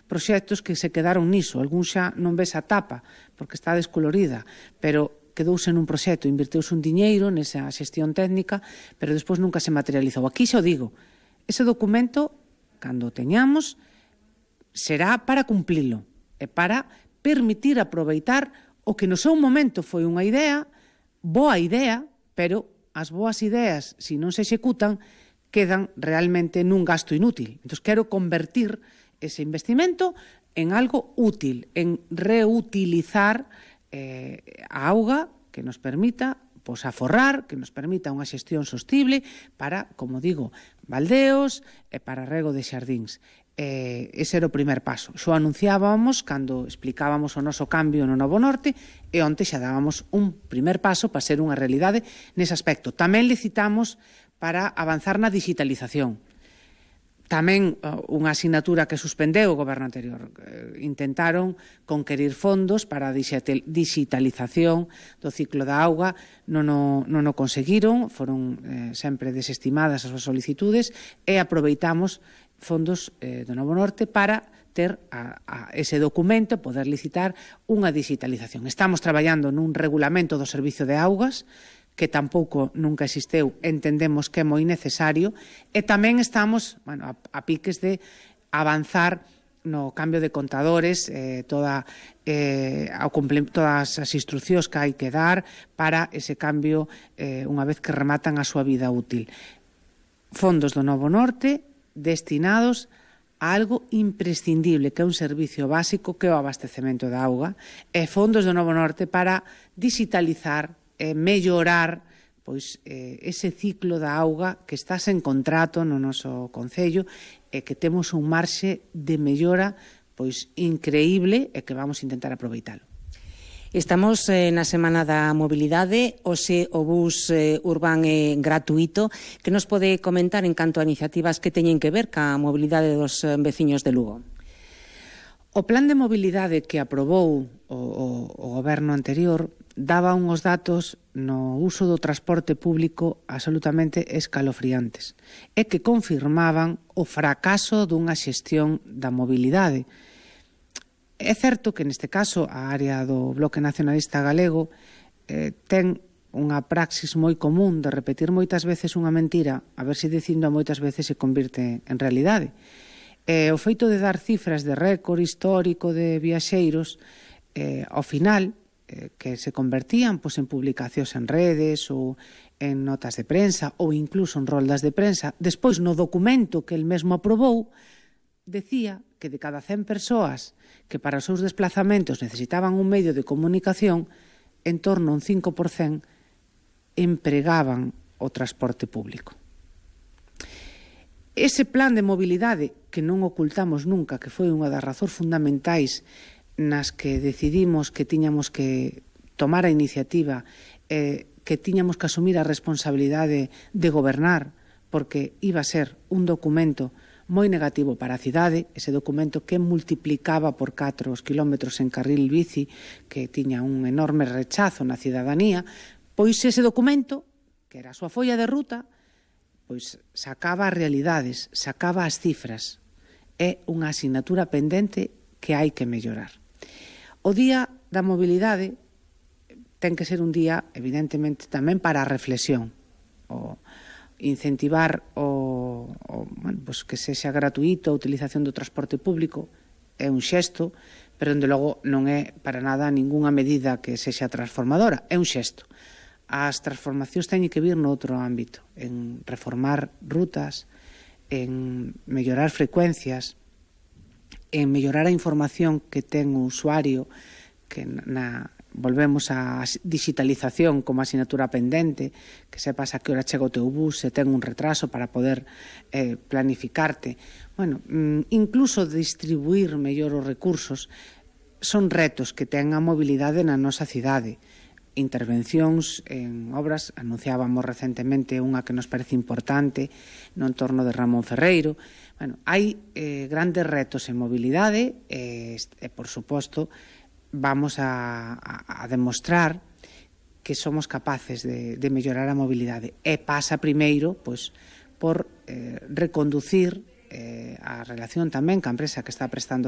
proxectos que se quedaron niso. Algúns xa non ves a tapa, porque está descolorida, pero quedouse nun proxecto, inverteuse un diñeiro nesa xestión técnica, pero despois nunca se materializou. Aquí xa o digo, ese documento, cando o teñamos, será para cumplilo e para permitir aproveitar o que no seu momento foi unha idea, boa idea, pero as boas ideas, se non se executan, quedan realmente nun gasto inútil. Entón, quero convertir ese investimento en algo útil, en reutilizar a auga que nos permita aforrar, que nos permita unha xestión sostible para, como digo, baldeos e para rego de xardíns. Ese era o primer paso. Xo anunciábamos cando explicábamos o noso cambio no Novo Norte e onte xa dábamos un primer paso para ser unha realidade nese aspecto. Tamén licitamos para avanzar na digitalización. Tamén unha asignatura que suspendeu o goberno anterior. Intentaron conquerir fondos para a digitalización do ciclo da auga, non o conseguiron, foron sempre desestimadas as súas solicitudes e aproveitamos fondos do Novo Norte para ter ese documento e poder licitar unha digitalización. Estamos traballando nun regulamento do servizo de augas, que tampouco nunca existeu, entendemos que é moi necesario, e tamén estamos a piques de avanzar no cambio de contadores, todas as instruccións que hai que dar para ese cambio unha vez que rematan a súa vida útil. Fondos do Novo Norte destinados a algo imprescindible, que é un servicio básico, que é o abastecemento da auga, e fondos do Novo Norte para digitalizar mellorar ese ciclo da auga que está sen contrato no noso concello e que temos un marxe de mellora increíble e que vamos a intentar aproveitalo. Estamos na Semana da Mobilidade, hoxe o bus urbán é gratuito. Que nos pode comentar en canto a iniciativas que teñen que ver ca mobilidade dos veciños de Lugo? O plan de mobilidade que aprobou o goberno anterior daba uns datos no uso do transporte público absolutamente escalofriantes e que confirmaban o fracaso dunha xestión da mobilidade. É certo que neste caso a área do Bloque Nacionalista Galego ten unha praxis moi común de repetir moitas veces unha mentira, a ver se dicindo moitas veces se convirte en realidade. O feito de dar cifras de récord histórico de viaxeiros, ao final, que se convertían en publicacións en redes ou en notas de prensa ou incluso en roldas de prensa, despois no documento que el mesmo aprobou, decía que de cada 100 persoas que para os seus desplazamentos necesitaban un medio de comunicación, en torno a un 5% empregaban o transporte público. Ese plan de mobilidade, que non ocultamos nunca, que foi unha das razóns fundamentais nas que decidimos que tiñamos que tomar a iniciativa, que tiñamos que asumir a responsabilidade de gobernar, porque iba a ser un documento moi negativo para a cidade, ese documento que multiplicaba por 4 os kilómetros en carril bici, que tiña un enorme rechazo na cidadanía, pois ese documento, que era a súa folla de ruta, sacaba as realidades, sacaba as cifras. É unha asignatura pendente que hai que mellorar. O Día da Mobilidade ten que ser un día, evidentemente, tamén para a reflexión. Incentivar que sexa gratuito a utilización do transporte público é un xesto, pero, dende logo, non é para nada ningunha medida que sexa transformadora, é un xesto. As transformacións teñen que vir noutro ámbito, en reformar rutas, en mellorar frecuencias, en mellorar a información que ten o usuario, que volvemos á digitalización como asignatura pendente, que sepas a que hora chega o teu bus, se ten un retraso para poder planificarte. Incluso distribuir mellor os recursos son retos que ten a mobilidade na nosa cidade. Intervencións en obras, anunciábamos recentemente unha que nos parece importante no entorno de Ramón Ferreiro. Hai grandes retos en mobilidade e, por suposto, vamos a demostrar que somos capaces de mellorar a mobilidade. E pasa primeiro por reconducir a relación tamén ca empresa que está prestando